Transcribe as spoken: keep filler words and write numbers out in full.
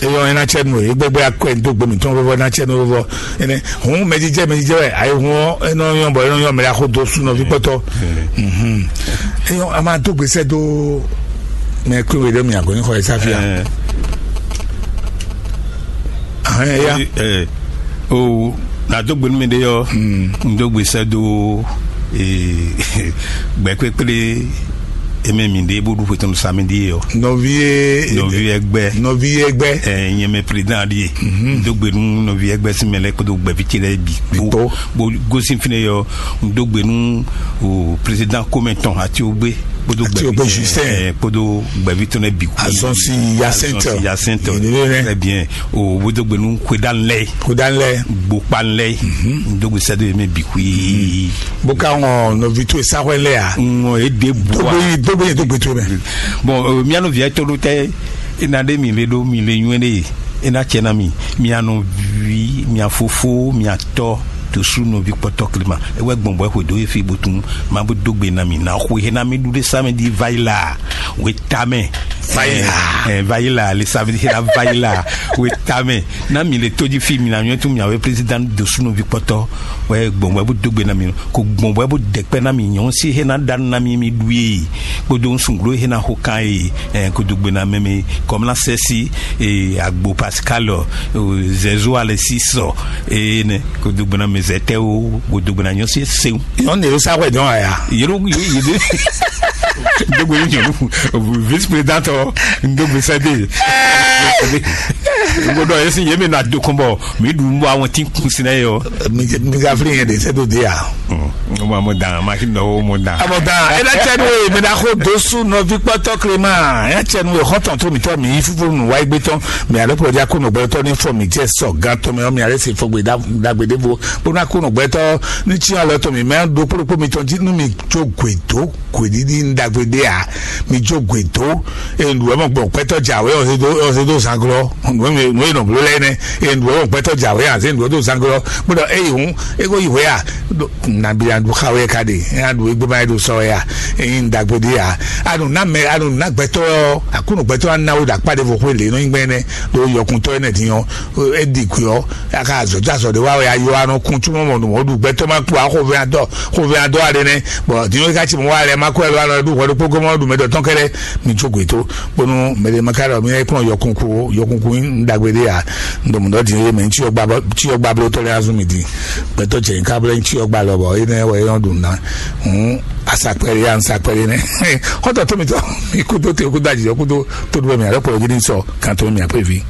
Eyɔ ena tsɛ nu e gbɛgbɛ akwɛ do gbe mitɔn vɔvɔ ena tsɛ nu vɔvɔ. Ene hun mɛdidjɛ mɛdidjɛ wɛ ayi hun ɔ enɔ yɔn bɔ enɔ yɔn mɛ la xo do su nɔvi kpɔtɔ. Mhm. Eyɔ a ma do gbesɛ do mɛ kúrò wɛ ɖe mi agɔ nyixɔ esa fia. Ahɛn eya. O na dó gbe nú mi ɖé ɔ́, un dó gbe sɛ́ dó gbɛkpékplé e mɛ mǐ ɖe bó ɖu xwe tɔn samedi é ɔ́. Nɔví e nɔví ɛgbɛ nɔví ɛgbɛ ɛ nyɛ mɛ président ɖíe. Un dó gbe nú nɔví ɛgbɛ sín mɛ lɛ́ɛ kpódó gbɛ̀ví ce lɛ́ɛ bǐ kpó. Bó gosín fínɛ́ ɔ́, un dó gbe nú o président kómɛ tɔn Atiogbe kpódó Atiogbe gbɛ̀ví Justin. Ɛ, kpódó gbɛ̀ví tɔn lɛ́ɛ bǐ kpó. Azɔnsi Yasɛntɔ. Azɔnsi Yasɛntɔ. Très bien. O bó dó gbe nú xwedánù lɛ́ɛ. Xwedánù lɛ́ɛ. Gbokpanlɛ. Dogbe sɛdo ye mɛ bi kui. Bó ka ŋɔ nɔvi towe sáwɛ lɛ a? Ŋɔ e de bu a. Dogbe yi dogbe yi dogbe towe mɛ. Bon, euh, mía nɔvi yɛ tɔɖo tɛ ena ɖe mi le ɖo mi le nyuɛ ɖe ena cɛ na mi. Mia nɔvi, mia fofo, mia tɔ to su nɔvi kpɔtɔ klima. Ewɛ gbɔn bɔ xwe do efi botun ma bo dogbe na mi na xwe he na mi ɖu ɖe samedi vayi la. We tamɛ. Vayi la. Eh, eh, vayi la le samedi he na vayi la. We tamɛ. Na mi le tóji fi mi na nyɔ́ tún mi awe président do sunɔvi kpɔtɔ. Wɛ gbɔn wɛ bó dó gbe na mi ko gbɔn wɛ bó dɛkpɛ na mi nyɔ́ si he na ɖa na mi mi ɖu ye kpódó nsunglo he na xo kan ye. Eh, ko dó gbe na mɛ mi kɔm na sɛ si eh, agbo pascal oh, zɛzo ale si sɔ eh, ne ko dó gbe na mi zɛtɛ o ko dó gbe na nyɔ́ si sewu. Nyɔnu yɛrɛ sa hwɛ dɔn aya. Yɛrɛ yɛrɛ dogbe nyɔnu vice président ɔ dogbe sɛde. Gbɔdɔ yesi yemi na do kɔnbɔ mi ɖu mbɔ àwọn tí kun sinɛ yɔ. Mi ka fili yẹn de sɛ do de ya. Mo ma mo dan ma ki nɔ o mo dan. Amɔ dan ena cɛ nu ye mi na ko dosu nɔvi kpɔtɔ klema ena cɛ nu ye xɔtɔn to mi tɔ mi yi fufuru nu wa igbe tɔn mi ale kplɔ di akɔnɔ gbɛtɔ ni fɔ mi jɛ sɔ gan tɔn mi ɔ mi ale se fɔgbe dagbe devo bó na kɔnɔ gbɛtɔ ni tsi alɔ tɔn mi mɛ do kpolokpo mi tɔn ji nu mi jo gwe do gweɖiɖi ɖagbe ɖe a mi jo gwe do. Eye nǔ wɛ mɔ gbɔn gbɛtɔ dza wɛ ɔse do ɔse do zanglɔ nǔ wɛ nɔ bló lɛ nɛ. Eye nǔ wɛ mɔ gbɛtɔ dza wɛ ase nǔ wɛ do zanglɔ gbɔdɔ eye hɔn ego yi wɛ a. Nabi a ɖu xa wɛ ka de eye a ɖu egbe ma ye do sɔ wɛ a. Eye ɖagbe ɖe a anu na mɛ anu na gbɛtɔ akunu gbɛtɔ anawo ɖakpa ɖe vo xwe le nɔ nyi gbɛ nɛ do yɔkuntɔ nɛ din ɔ edi kui ɔ aka azɔjazɔ ɖe wa wɛ ayo anɔ kun tsumɔ mɔ nɔ mɔ ɖu gbɛtɔ ma kpɔ axɔvɛ adɔ xɔvɛ adɔ aɖe nɛ. Bɔn din ɔ ka tsi mɔ wa lɛ ma kɔ ɛlɔ anɔ ɖu hwɛ ɖokpó gɔmɔ ɖu mɛ dɔ tɔn kɛlɛ mi tso gwe to bonu mɛ ɖe ma ka ɖɔ mi yɛ kplɔn yɔkunku yɔkunku yin ɖagbe ɖe ya. Ndɔmɔ dɔ din ye mɛ ntsi ɔgba tsi ɔgba blo tɔ lɛ azun mi din gbɛtɔ cɛ nka blo ntsi ɔgba lɔ bɔ ene wɛ yɔn ɖu na hun asakpɛ ɖe ya nsakpɛ ɖe nɛ. Xɔtɔ to mi tɔ mi kudo te kudo ajijɔ kudo to ɖu bɛ mi alɔ kpɔ yɔ gidi sɔ kan to mi akpɛ vi.